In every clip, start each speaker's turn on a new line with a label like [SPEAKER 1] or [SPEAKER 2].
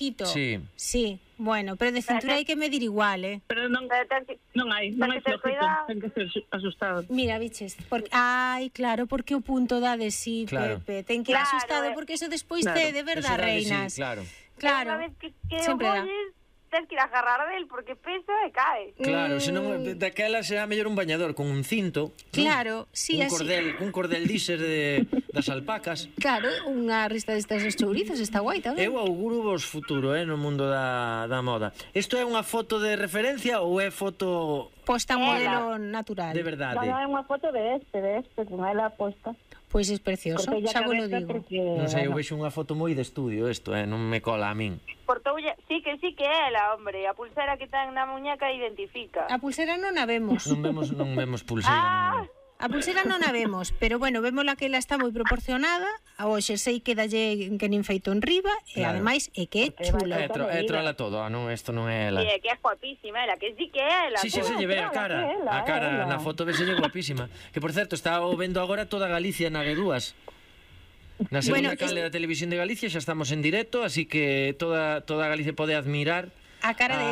[SPEAKER 1] bajito.
[SPEAKER 2] Sí.
[SPEAKER 1] Sí, bueno, pero de cintura hai que medir igual,
[SPEAKER 3] Pero non hai flojito, ten que ser asustado.
[SPEAKER 1] Mira, biches, porque claro, porque o punto dá de sí,
[SPEAKER 2] Claro.
[SPEAKER 1] Pepe. Ten que ir asustado porque eso despois te de verdad, reinas.
[SPEAKER 2] Sí, claro.
[SPEAKER 1] Claro.
[SPEAKER 4] Unha vez que
[SPEAKER 1] Sempre dá.
[SPEAKER 4] tens que ir a agarrar del porque pesa e cae.
[SPEAKER 2] Claro, senón daquela será mellor un bañador con un cinto.
[SPEAKER 1] Claro, sí, así.
[SPEAKER 2] Un cordel diser das alpacas.
[SPEAKER 1] Claro, unha rista destas dos chourizos, está guai tamén.
[SPEAKER 2] Eu auguro vos futuro, no mundo da moda. Isto é unha foto de referencia ou é foto
[SPEAKER 1] Posta modelo natural.
[SPEAKER 2] de verdade?
[SPEAKER 5] Non, é unha foto de este, con ela posta.
[SPEAKER 1] Pois é precioso,
[SPEAKER 5] Cortei a
[SPEAKER 1] xa vos lo
[SPEAKER 5] cabeza
[SPEAKER 1] digo.
[SPEAKER 5] porque,
[SPEAKER 2] Non sei, eu
[SPEAKER 5] bueno,
[SPEAKER 2] vexo unha foto moi de estudio isto, non me cola a min.
[SPEAKER 4] Cortoulle, sí que é ela, hombre. A pulsera que ten na muñeca identifica.
[SPEAKER 1] A pulsera non a vemos.
[SPEAKER 2] Non vemos pulseira. non.
[SPEAKER 1] A pulsera non a vemos, pero bueno, vémola que ela está moi proporcionada. O xersei quedalle que nin feito en riba e
[SPEAKER 2] Claro.
[SPEAKER 1] ademais é que é chulo.
[SPEAKER 2] É trola todo, non, isto non é ela.
[SPEAKER 4] Sí, é que é guapísima ela, que sí que é ela.
[SPEAKER 2] Sí, se lle ve a cara. A cara
[SPEAKER 5] ela.
[SPEAKER 2] na foto veselle guapísima. Que por certo, está vendo agora toda Galicia na G2. Na segunda
[SPEAKER 1] Bueno,
[SPEAKER 2] canle da Televisión de Galicia xa estamos en directo, así que toda Galicia pode admirar
[SPEAKER 1] A cara de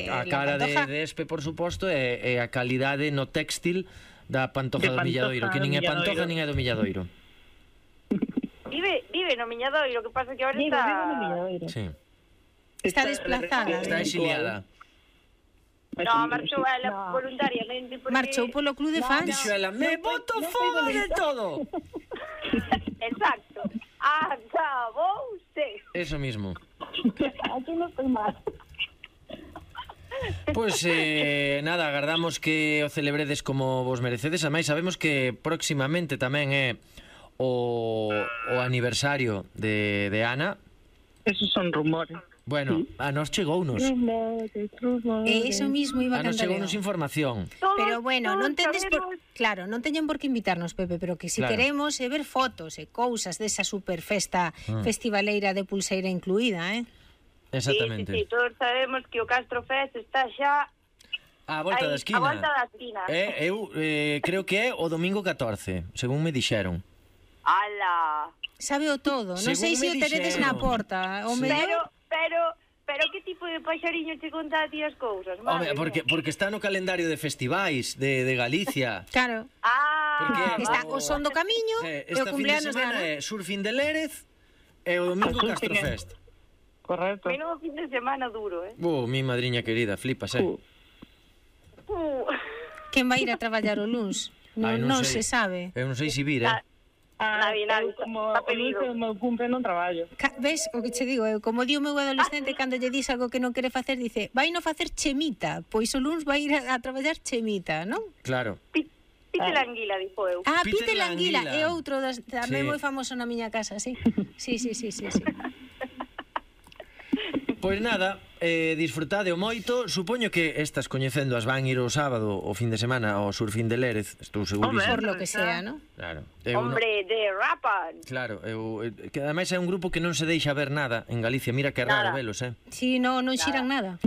[SPEAKER 2] a cara de Espe, por suposto, e a calidade no textil da Pantoja
[SPEAKER 3] De
[SPEAKER 2] do Milladoiro,
[SPEAKER 3] Pantoja
[SPEAKER 2] que nin é
[SPEAKER 3] do
[SPEAKER 2] Pantoja
[SPEAKER 3] Milladoiro.
[SPEAKER 2] nin é do Milladoiro.
[SPEAKER 4] Vive no Miñadoiro, que pasa que ahora
[SPEAKER 5] digo,
[SPEAKER 4] está...
[SPEAKER 5] digo no Milladoiro.
[SPEAKER 2] Sí.
[SPEAKER 1] Está desplazada.
[SPEAKER 2] Está exiliada.
[SPEAKER 4] No, marchou ela voluntariamente porque...
[SPEAKER 1] Marchou polo club de fans.
[SPEAKER 2] Dixo ela, me boto fora de todo.
[SPEAKER 4] Exacto. Acabouse.
[SPEAKER 2] Eso mismo.
[SPEAKER 5] Aquí non estoy mal.
[SPEAKER 2] Pois nada, agardamos que o celebredes como vos merecedes. Ademais, sabemos que próximamente tamén é o aniversario de Ana.
[SPEAKER 3] Esos son rumores.
[SPEAKER 2] Bueno, a nos chegounos.
[SPEAKER 1] Eso mismo iba a
[SPEAKER 2] A nos
[SPEAKER 1] cantar.
[SPEAKER 2] chegounos información.
[SPEAKER 1] Pero bueno, non tendes por...
[SPEAKER 4] sabemos...
[SPEAKER 1] Claro, non teñen por que invitarnos, Pepe, pero que si
[SPEAKER 2] Claro.
[SPEAKER 1] queremos é ver fotos e cousas desa super festa festivaleira de pulseira incluída,
[SPEAKER 2] Exactamente.
[SPEAKER 4] Sí, todos sabemos que o Castro Fest está xa...
[SPEAKER 2] A volta da esquina.
[SPEAKER 4] A volta da esquina.
[SPEAKER 2] Eu creo que é o domingo 14, según me dixeron.
[SPEAKER 4] Ala.
[SPEAKER 1] Sábeo todo. Non sei se o teredes na porta. O
[SPEAKER 2] Sí.
[SPEAKER 1] mellor...
[SPEAKER 4] Pero que tipo de paxariño te conta a ti as cousas?
[SPEAKER 2] Home, porque está no calendario de festivais de Galicia.
[SPEAKER 1] Claro.
[SPEAKER 2] Porque
[SPEAKER 1] Está o son do camiño e o
[SPEAKER 2] esta fin de
[SPEAKER 1] cumpleanos de
[SPEAKER 2] semana
[SPEAKER 1] Ana.
[SPEAKER 2] é Surfing de Lérez e o domingo Castro Fest.
[SPEAKER 3] Correcto.
[SPEAKER 4] Menudo fin de semana duro,
[SPEAKER 2] Mi madriña querida, flipas,
[SPEAKER 1] Quen vai ir a traballar o luns?
[SPEAKER 2] Ai,
[SPEAKER 1] Non
[SPEAKER 2] sei.
[SPEAKER 1] se sabe.
[SPEAKER 2] Eu non sei se vir,
[SPEAKER 4] Navi,
[SPEAKER 3] eu como
[SPEAKER 4] está
[SPEAKER 3] o lunes
[SPEAKER 4] pedido.
[SPEAKER 3] é o meu cumple non traballo.
[SPEAKER 1] Ves o que che digo? Eu, como di o meu adolescente cando lle dis algo que non quere facer, dice, vai non facer chemita, pois o luns vai ir a traballar chemita, non?
[SPEAKER 2] Claro.
[SPEAKER 4] Pite la anguila, dixo eu.
[SPEAKER 1] Peter
[SPEAKER 2] Peter
[SPEAKER 1] Languila,
[SPEAKER 2] Languila.
[SPEAKER 1] é outro tamén
[SPEAKER 2] Sí.
[SPEAKER 1] moi famoso na miña casa, sí. Sí.
[SPEAKER 2] Pois nada, disfrutade o moito. Supoño que estas coñecéndoas van ir o sábado, o fin de semana, ao Surfing de Lérez. Estou segurísimo.
[SPEAKER 1] Por lo que sea, ¿no?
[SPEAKER 2] Claro.
[SPEAKER 4] Hombre, de rapan.
[SPEAKER 2] Claro, que ademais é un grupo que non se deixa ver nada en Galicia. Mira que raro
[SPEAKER 4] Nada.
[SPEAKER 2] velos,
[SPEAKER 1] Sí, non xiran nada.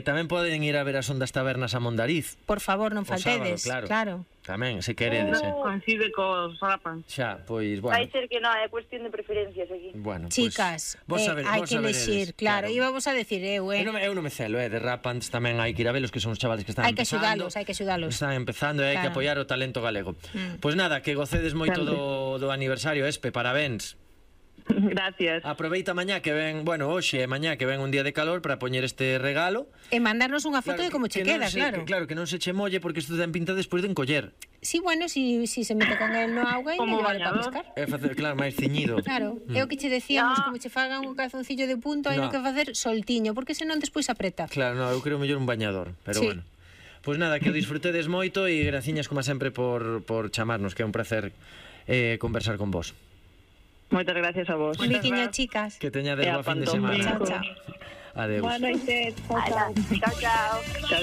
[SPEAKER 2] Tamén poden ir a ver as ondas tabernas a Mondariz.
[SPEAKER 1] Por favor, non
[SPEAKER 2] O sábado,
[SPEAKER 1] faltedes.
[SPEAKER 2] claro.
[SPEAKER 1] Claro.
[SPEAKER 2] Tamén, se queredes,
[SPEAKER 3] Coincide cos rapan.
[SPEAKER 2] Xa, pois,
[SPEAKER 4] Vai
[SPEAKER 2] bueno.
[SPEAKER 4] ser que non, é cuestión de preferencias aquí.
[SPEAKER 2] Bueno,
[SPEAKER 1] Chicas,
[SPEAKER 2] pois,
[SPEAKER 1] hai que elexir, claro. Íbamos a decir eu,
[SPEAKER 2] Eu non me celo, de Rapans tamén hai que ir a velos, que son os chavales que están
[SPEAKER 1] Hai que
[SPEAKER 2] empezando.
[SPEAKER 1] axudalos, hai que axudalos.
[SPEAKER 2] Están empezando e hai que
[SPEAKER 1] Claro.
[SPEAKER 2] apoiar o talento galego. Pois nada, que gocedes moito do aniversario, Espe, parabéns.
[SPEAKER 3] Gracias.
[SPEAKER 2] Aproveita mañá que ven, bueno, hoxe e mañá que ven un día de calor para poñer este regalo.
[SPEAKER 1] E mandarnos unha foto de como che
[SPEAKER 2] que non
[SPEAKER 1] queda,
[SPEAKER 2] se-
[SPEAKER 1] claro.
[SPEAKER 2] Claro, que non se che molle porque isto ten pinta despois de encoller.
[SPEAKER 1] Sí, bueno, si se mete con el no agua e
[SPEAKER 3] Como
[SPEAKER 1] le llevar para
[SPEAKER 3] bañador.
[SPEAKER 1] pescar.
[SPEAKER 2] É facer, claro, máis ceñido.
[SPEAKER 1] Claro, é o que che decíamos, como che fagan un calzoncillo de punto, hai
[SPEAKER 2] No.
[SPEAKER 1] que facer soltiño, porque senón despois apreta.
[SPEAKER 2] Claro, no, eu creo mellor un bañador, pero
[SPEAKER 1] Sí.
[SPEAKER 2] bueno. Pois nada, que o disfrutedes moito e graciñas como sempre por chamarnos, que é un placer conversar con vos.
[SPEAKER 3] Moitas gracias a vos.
[SPEAKER 1] Un biquiño, chicas.
[SPEAKER 2] Que teñades
[SPEAKER 3] E a
[SPEAKER 2] boa fin de
[SPEAKER 3] Pantomima.
[SPEAKER 2] semana.
[SPEAKER 1] Chao, chao.
[SPEAKER 2] Adeus.
[SPEAKER 5] Boa noite. Chao, chao.
[SPEAKER 4] Chao, chao.
[SPEAKER 3] Chao,